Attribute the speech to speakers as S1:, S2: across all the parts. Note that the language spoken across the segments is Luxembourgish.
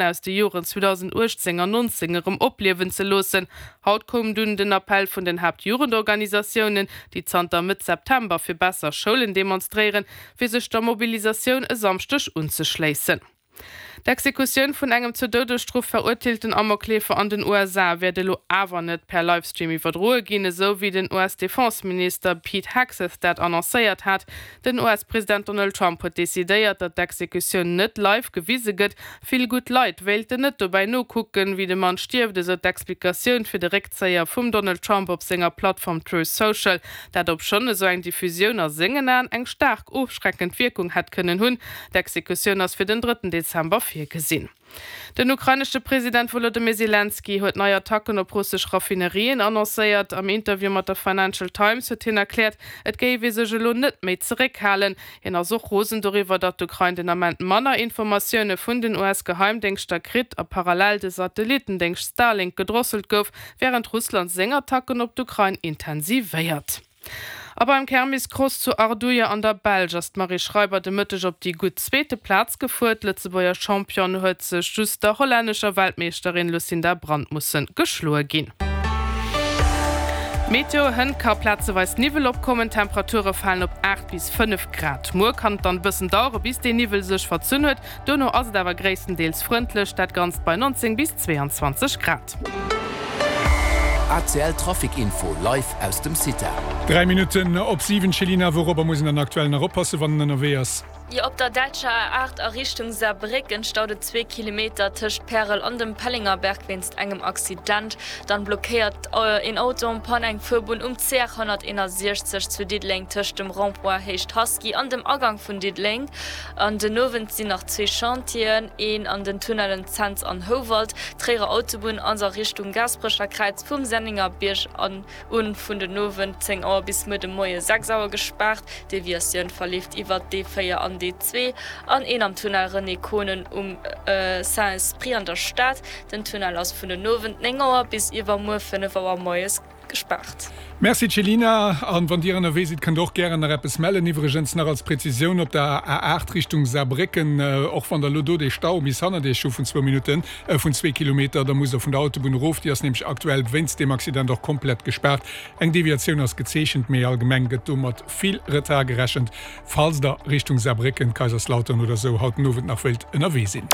S1: Aus de Joren 2018 an 19 erëm opliewen ze loossen. Haut koum dunn den Appell vun den Haaptjugendorganisatiounen, déi zanter Mëtt September fir besser Schoulen demonstréieren, fir sech der Mobilisatioun e Samschdeg unzeschléissen. D'Exekutioun vun engem zur Doudesstrof verurteelten Amokleefer an den USA wäert elo awer net per Livestream iwwerdroe ginn, esou wéi den US-Defenseminister Pete Hegseth dat annoncéiert hat. Den US-President Donald Trump huet decidéiert, datt d'Exekutioun net live gewise gëtt, Vill gutt Leit wéilten net dobäi nokucken, wéi de Mann stierft, esou d'Explikatioun fir de Réckzéier vum Donald Trump op senger Plattform Truth Social. Dat obschonn esou eng Diffusioun a sengen Aen eng staark ofschreckend Wierkung hätt kënnen hunn. D'Exekutioun ass fir den drëtten Dezember virgesinn. Den ukrainesche President Wolodymyr Selenskyj huet nei Attacken op russesch Raffinerien annoncéiert. Am Interview mat der Financial Times huet hien erkläert, et géif ee sech elo net méi zeréckhalen. Hien ass och rosen doriwwer, datt d'Ukrain den Ament manner Informatioune vun den US-Geheimdéngschter kritt a parallel de Satellittendéngscht Starlink gedrosselt gouf, wärend Russland seng Attacken op d'Ukrain intensivéiert. A beim Kermiscross zu Ardooie an der Belsch ass d'Marie Schreiber de Mëtteg op déi gutt zweete Plaz gefuer. D'Lëtzebuerger Championne huet sech just der hollännescher Weltmeeschterin Lucinda Brand musse geschloe ginn. Meteo, Hënt ka plazeweis Niwwel opkommen, d'Temperature falen op 8 bis 5 Grad. Muer kann et dann e bëssen dauere bis dee Niwwel sech verzunn huet, dono ass et awer gréisstendeels frëndlech, dat Ganzt bei 19 bis 22 Grad.
S2: ACL Trafic Info live aus dem CITA.
S3: 3 Minutten op 7, Céline, wourobber muss een dann aktuell nach oppassen, wann en ënnerwee ass?
S4: Jo, op der däitscher A8 a Richtung Saarbrécken staut et zwee Kilometer tëscht Pärel an dem Pellengerberg wéinst engem Accident. Dann blockéiert een Auto en panne eng Fuerbunn um CR 161 zu Diddeleng tëscht dem Rond-point Héicht Haski an dem Agang vun Diddeleng. An den Owend sinn nach zwee Chantieren, een an den Tunnellen Cents an Houwald. D'Tréierer Autobunn ass a Richtung Gaasperecher Kräiz vum Senningerbierg an Un vun den Owend 10 Auer bis muer de Moie 6 Auer gespaart. D'Deviatioun verleeft iwwert d'E4 an d'E2 an een am Tunnel René Konen um Saint-Esprit an der Stad. Den Tunnel ass vun den Owend 9 Auer bis iwwermuer 5 Auer moies gespaart.
S3: Merci Céline, an wann dir ënnerwee sidd kënnt der och gären nach eppes mellen. Iwwregens nach als Präzisioun, op der A8 Richtung Saarbrécken, och wann der elo do dee Stau bis hannert iech hu vun zwou Minutten, vun zwee Kilometer, da musst der vun der Autobunn erof. Déi ass nämlech aktuell wéinst deem Accident och komplett gespaart. Eng Deviatioun ass gezeechent, mee allgemeng gëtt do mat vill Retard gerechent, falls der Richtung Saarbrécken, Kaiserslautern oder sou haut den Owend nach wéilt ënnerwee sinn.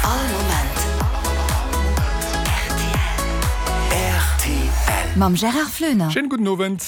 S5: All Moment rtl. Mam Gérard Floener.
S3: Schéinen gudden Owend.